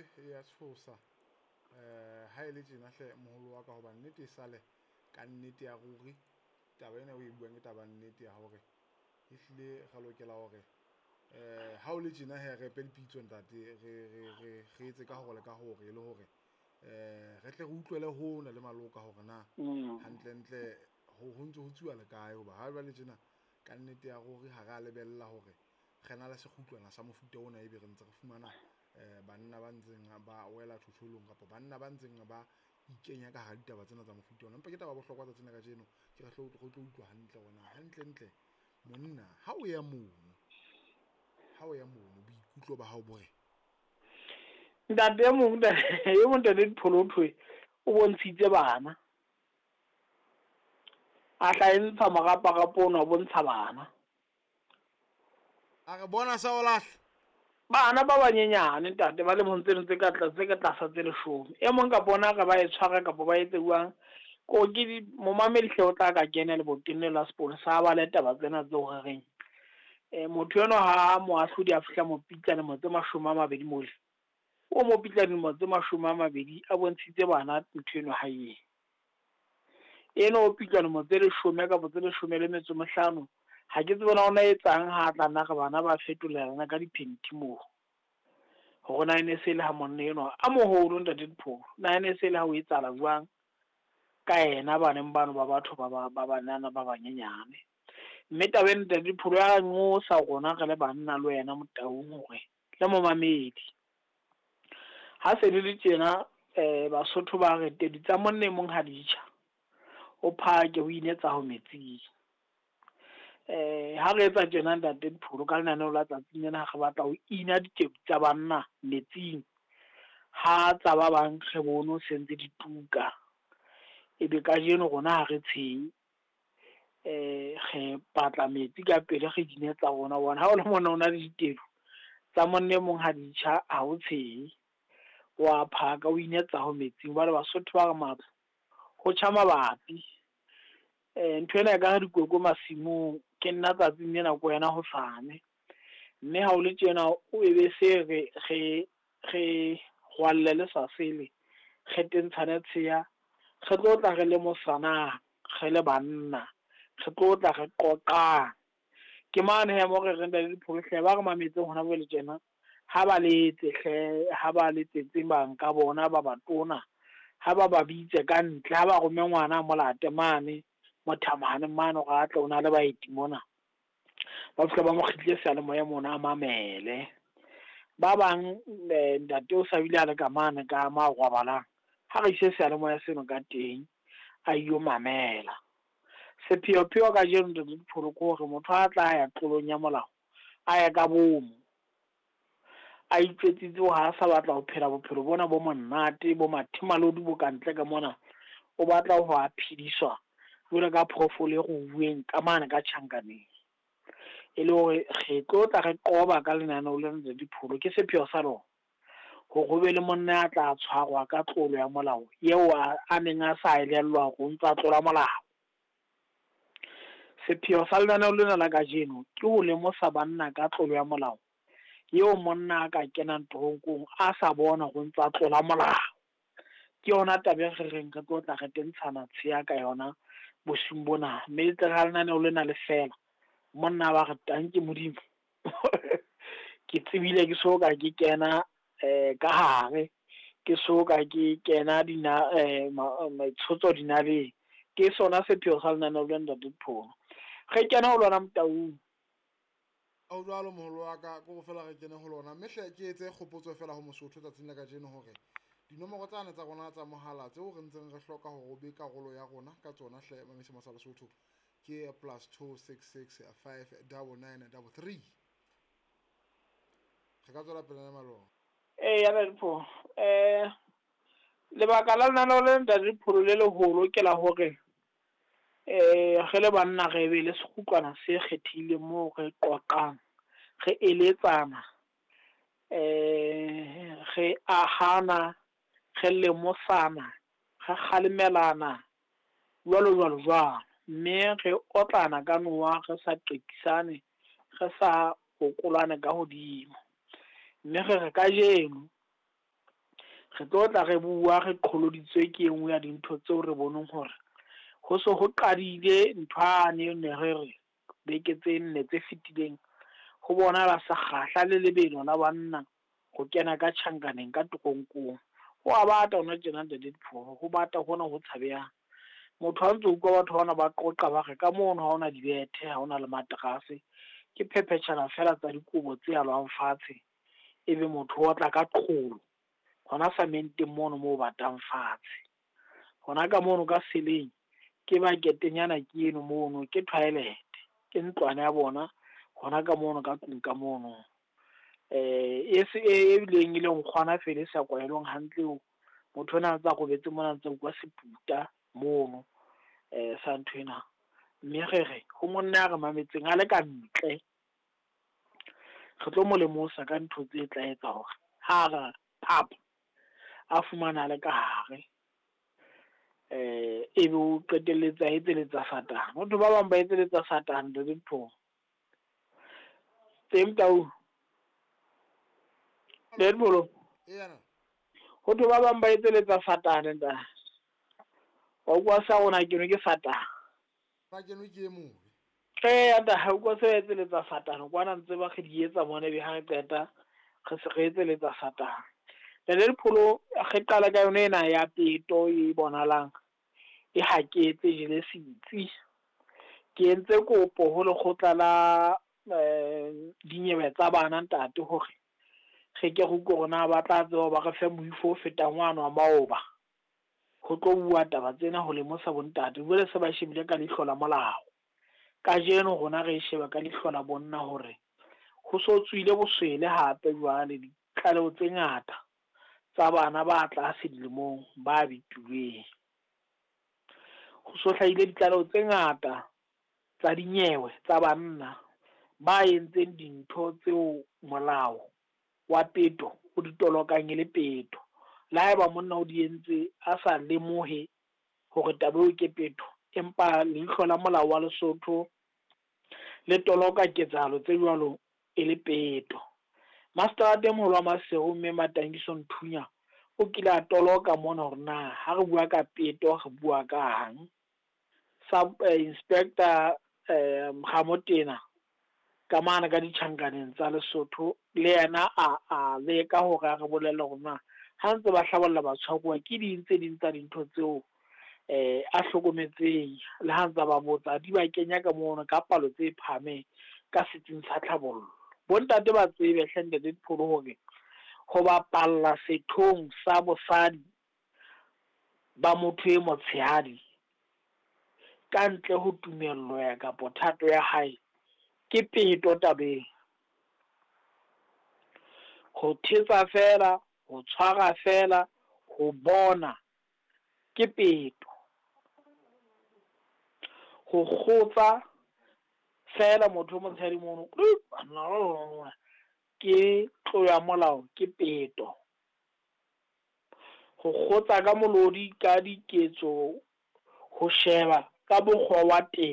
mpe e ya tshosa. Ha e le tjena hle moholo wa ka, hoba nnete e sale ka nnete ya ruri. Taba ena o e buang ke taba nnete ya hore ehlile re lokela hore ha o le tjena he re epe dipitso ntate, re etse ka hore le ka hore e le hore re tle re utlwele hona le maloka hore na hantlentle ho ntse ho tsuwa le kae. Hoba ha jwale tjena ka nnete ya ruri ha re a lebella hore re na le sekgutlwana sa mofuta ona, ebe re ntse re fumana banna ba ntseng ba wela thotholong kapa banna ba ntseng ba ikenya ka hara ditaba tsena tsa mofuta ona. Empa ke taba ya bohlokwa tsatsing la kajeno, ke re re tlo utlwa hantle hore na hantlentle monna ha o ya mono, ha o ya mono boikutlo ba hao bo re? Ntate e mong e mong ntate Dipholo thwe o bontshitse bana, a hla e ntsha moraparapo ona o bontsha bana. A re bona sa o lahla. Bana ba banyenyane ntate ba lemong tseno tse ka tse ka tlasa tse 10. E mong ka bona re ba e tshwara kapa ba etse jwang. Ko ke momamedi hle o tla ka kena leboteng le la sepolesa ba le taba tsena tseo re reng. Motho enwa ha moahlodi a fihla mo pitla lemo tse 20 mole. O mo pitla dilemo tse 20 a bontshitse bana ntho eno ha e. Eno o pitla lemo tse 10 kapa tse 15. Ha ke tsebe na ona etsang ha tla nna re bana ba fetolelana ka diphenti moo. Hore na ene se le ha monna enwa a moholo ntate Dipholo, na ene se le ha o etsahala jwang ka yena baneng bano ba batho ba banana ba banyenyane. Mme taba ena ntate Dipholo ya nqosa rona re le banna le wena Motaung hore le momamedi. Ha se le le tjena Basotho ba re tedu tsa monna e mong ha di tjha, o phake o inetsa ho metsing. Ha re etsa tjena ntate Dipholo ka lenaneo la tsatsing lena, re batla ho ina ditedu tsa banna metsing, ha tsa ba bang re bone se ntse di tuka. Ebe kajeno rona ha re tshehe, re batla metsi ka pele re dinetsa rona. Hobane ha o le monna o na le ditedu tsa monna e mong ha di tjha, ha o tshehe, wa phaka o inetsa ho metsing. Jwale Basotho ba re matlo ho tjha mabapi. Ntho ena e ka re dikoko masimong, ke nna tsatsing lena ko wena hosane. Mme ha o le tjena o ebe se re re rwalle le sa sele, re tentshane tsheya, re tlo tla re le mosanang, re le banna, re tlo tla re qoqang. Ke mane he mo re reng ntate Dipholo hle ba re mametseng hona jwale tjena, ha ba letse hle, ha ba letsetse bang ka bona ba batona, ha ba ba bitse ka ntle, ha ba rome ngwana a molate mane mothamane mane hore a tle o na le baeti mona. Ba fihla ba mo kgitlile seyalemoya mona a mamele. Ba bang ntate o sa bile a le ka mane ka ma rwabalang, ha re ise seyalemoya seno ka teng a iyo mamela. Sepheopheo kajeno ntate Dipholo ke hore motho a tla ya tlolong ya molao, a ye ka bomo, a itjwetsitse hore ha sa batla ho phela bophelo bona bo monate bo mathemalodi bo kantle ka mona, o batla ho a phediswa jwalo ka phoofolo e ruuweng ka mane ka tjhankaneng. E le hore re tlo tla re qoba ka lenaneo lena ntate Dipholo, ke sepheo sa lona hore ho be le monna a tla tshwarwa ka tlolo ya molao eo a neng a sa elellwa hore o ntsa tlola molao. Sepheo sa lenaneo lena la kajeno ke ho lemosa banna ka tlolo ya molao eo monna a ka kenang toronkong a sa bona hore o ntsa tlola molao. Ke yona taba e re reng re tlo tla re tentshana tsheya ka yona bosiung bona. Mme e tle ha lenaneo lena le fela, monna ba re tanke Modimo. Ke tsebile ke so ka ke kena ka hare, ke so ka ke kena dina tshotso dinaleng. Ke sona sepheo sa lenaneo lena ntate Dipholo. Re kena ho lona Motaung. O jwalo moholo wa ka, ko fela re kene ho lona. Mme hle ke etse kgopotso fela ho Mosotho tsatsing la kajeno hore dinomoro tsane tsa rona tsa mohala tseo re ntseng re hloka hore o be karolo ya rona ka tsona hle mamese sa Lesotho ke +266 5 99 33. Re ka tswela pele le malona. Ya Dipholo. Lebaka la lenaneo le ntate Dipholo le leholo ke la hore re le banna re be le sekgutlwana se kgethehileng moo re qoqang, re eletsana, re ahana, re lemosana, re kgalemelana jwalo jwalo jwalo. Mme re otlana ka nowa, re sa qekisane, re sa okolane ka hodimo. Mme re re kajeno Re tlo tla re bua re qholoditswe ke e nngwe ya dintho tseo re boneng hore ho se ho qadile nthwane ne re re beke tse nne tse fetileng ho bonahala sekgahla le lebelo la banna ho kena ka tjhankaneng ka toronkong. Ho a bata hona tjena ntate Dipholo, ho bata hona ho tshabehang. Motho ha ntso utlwa batho bana ba qoqa ba re ka mono ha hona dibethe, ha hona le materase, ke phephetjhana fela tsa dikobo tse alwang fatshe, ebe motho o otla ka qholo hona samenteng mono moo batang fatshe. Hona ka mono ka seleng ke baketenyana ke eno mono, ke toilet, ke ntlwana ya bona hona ka mono ka tlung ka mono. E se e bileng e le nkgwana fela e sa kwahelwang hantle eo. Motho ona a ntsa robetse mona a ntsa utlwa seputa mono sa nthwena. Mme re re ho monna ya re mametseng a le ka ntle, re tlo mo lemosa ka ntho tse tla etsa hore ha re phapha a fumana a le ka hare, ebe o qetelletse a etseletsa Satane. Ho thwe ba bang ba etseletsa Satane ntate Dipholo. Teng tau. Ntate Dipholo. Ho thwe ba bang ba etseletsa Satane ntate. Wa utlwa sa rona kenwe ke Satane. Ba kenwe ke e mobe. Ee, ata ha utlwa se etseletsa Satane kwana ntse ba re di etsa mona ebe ha re qeta re se re etseletsa Satane. Ntate Dipholo re qala ka yona ena ya peto e bonahalang e haketse jele setsi. Ke entse kopo ho lekgotla la dinyewe tsa bana ntate hore re ke re utlwe hore na ba tla tseba ba re fe moifo o fetang wane wa maoba. Ho tlo bua taba tsena ho lemosa bontate. Jwale se ba shebile ka leihlo la molao. Kajeno rona re sheba ka leihlo la bonna hore ho so tswile boswele hape jwale ditlaleho tse ngata tsa bana ba tlase dilemong ba betilweng. Ho so hlahile ditlaleho tse ngata tsa dinyewe tsa banna ba entseng dintho tseo molao wa peto o di tolokang e le peto. Le haeba monna o di entse a sa lemohe hore taba eo ke peto, empa leihlo la molao wa Lesotho le toloka ketsahalo tse jwalo e le peto. Maseterata e moholo wa Maseru mme Matangiso Nthunya o kile a toloka mona hore na ha re bua ka peto re bua kang. Sub Inspector Ramotena ka mane ka ditjhankaneng tsa Lesotho le yena a leka hore a re bolelle hore na ha ntse ba hlabolla batshwaruwa ke ding tse ding tsa dintho tseo a hlokometseng le ha ntse ba botsa di ba kenya ka mono ka palo tse phahameng ka setsing sa tlhabollo. Bontate ba tsebe hle ntate Dipholo hore ho bapalla sethong sa bosadi ba motho e motshehadi ka ntle ho tumello ya kapa thato ya hae ke peto tabeng. Ho thetsa fela, ho tshwara fela, ho bona ke peto. Ho kgotsa fela motho o motshehadi mono ke tlo ya molao, ke peto. Ho kgotsa ka molodi ka diketso, ho sheba ka mokgwa wa teng.